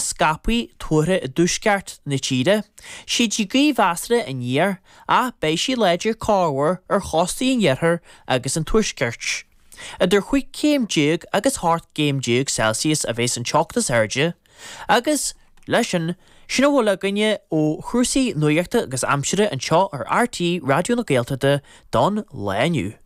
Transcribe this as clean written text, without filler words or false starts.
scaipthe tuartha i dtuaisceart na tíre. Séidfidh gaoth mheasartha aniar ach beidh sí láidir corruair ar chóstaí an iarthair agus an tuaiscirt. Idir 15 céim agus 18 gcéim Celsius a bheas an teocht is airde agus, leis sin, sin a bhfuil againne ó chúrsaí nuachta agus aimsire anseo ar RTÉ Raidió na Gaeltachta don lá inniu.